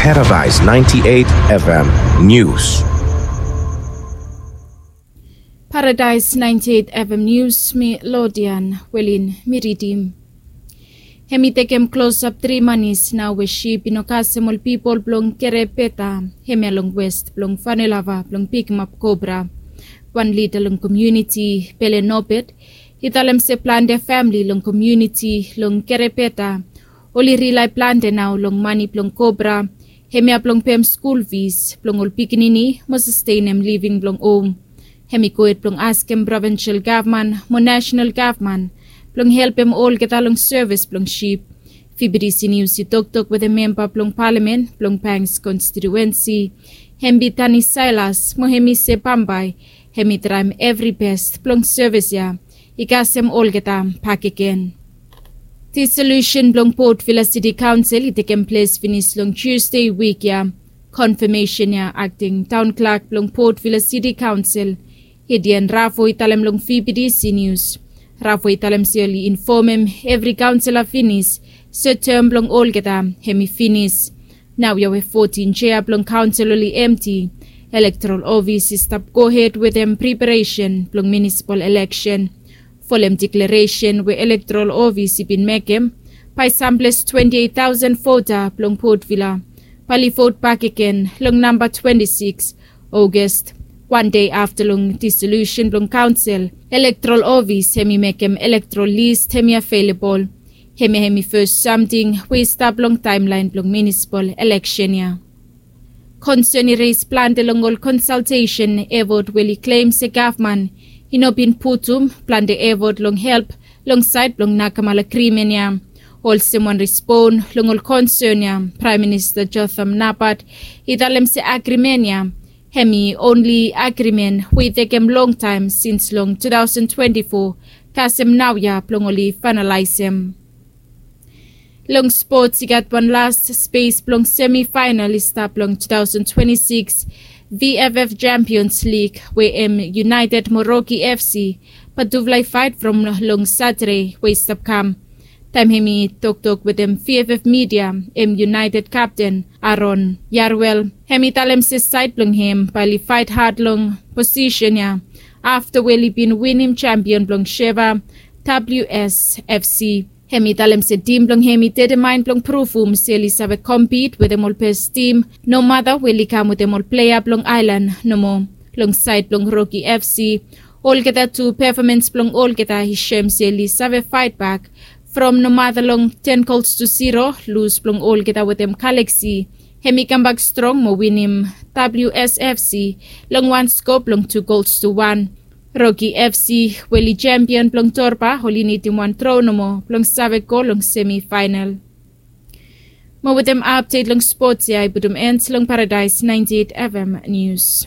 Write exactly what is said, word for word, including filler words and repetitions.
Paradise ninety-eight F M News. Paradise ninety-eight F M News, mi Lodian Welin mi ridim. Hem i tekem klosap tri manis nao we ship i no kasem ol pipol blong Kerepeta, hemia long west blong Vanua Lava blong pikimap kobra. Wan lida long komuniti Pele Nobet i talem se plante famili long komuniti long Kerepeta oli rilae plante nao long mani blong kobra, hemia blong pem skul fis blong ol pikinini mo sastenem living blong hom. Hem i gohed blong askem provinsel gavman mo nasenal gavman blong helpem olgeta long sevis blong ship. Fibidisi Nius i toktok wetem memba blong palamen blong Pangs konstitiuensi, hem i Tani Sailas, mo hem i se bambae hem i traem evri bes blong sevis ya i kasem olgeta bakegen. Disolusen blong Port Vila Siti Kaonsel i tekem ples finis long Tusde wik ya. Konfamesen ya akting taon klak blong Port Vila Siti Kaonsel, Hedian Rafo, i talem long Fibidisi Nius. Rafo i talem se oli infomem evri kaonsela finis se tem blong olgeta hem i finis. Naoia we fotin jea blong kaonsel oli emti, elektorol ofis i stap gohed wetem preparesen blong munisipal eleksen. Folem deklaresen we elektorol ofis i bin mekem, bae samples twenti eit taosen vota blong Port Vila bae oli vot bakegen long namba twenti sikis Ogos. Wan dei afta long disolusen blong kaonsel, elektorol ofis hem i mekem elektorol lis hem i avelabol. Hemia hem i fes samting we i stap long taemlaen blong munisipal eleksen ya. Konsen i res plante long ol konsaltesen efot we oli klem se gavman i no bin putum plante efot long help long saed blong nakamala agrimen ya. Olsem wan respon long ol konsen ya, Praem Minista Jotham Napat i talem se agrimen ya hem i onli agrimen we i tekem longtaem sins long tu taosen twenti fo, kasem naoia blong oli faenalaesem. Long spots, i gat wan las spes blong semifaenal i stap long tu taosen twenti sikis V F F Champions League we hem United mo Rocky F C bae tufala i faet from long Satade we i stap kam. Taem hem i toktok wetem V F F midia, hem United kapten Aaron Yarwell, hem i talem se saed blong hem bae oli faet had long posisen ya afta we oli bin winim sempion blong Sheva W S F C. Hem i talem se tim blong hem i dedemaen blong pruvum se oli save kompit wetem ol bes tim, nomata we oli kam wetem ol plea blong aelan nomo. Long saed blong Rocky F C, olgeta tu pefomans blong olgeta i sem se oli save faet bak from nomata long ten gols tu ziro lus blong olgeta wetem Galaxy. Hem i kambak strong mo winim W S F C long wan sko blong tu gols tu wan. Rocky F C we oli sempion blong Torba oli nidim wan tro nomo blong save go long semifaenal. Mo wetem apdet long spots ya i putum en long Paradise ninety-eight F M News.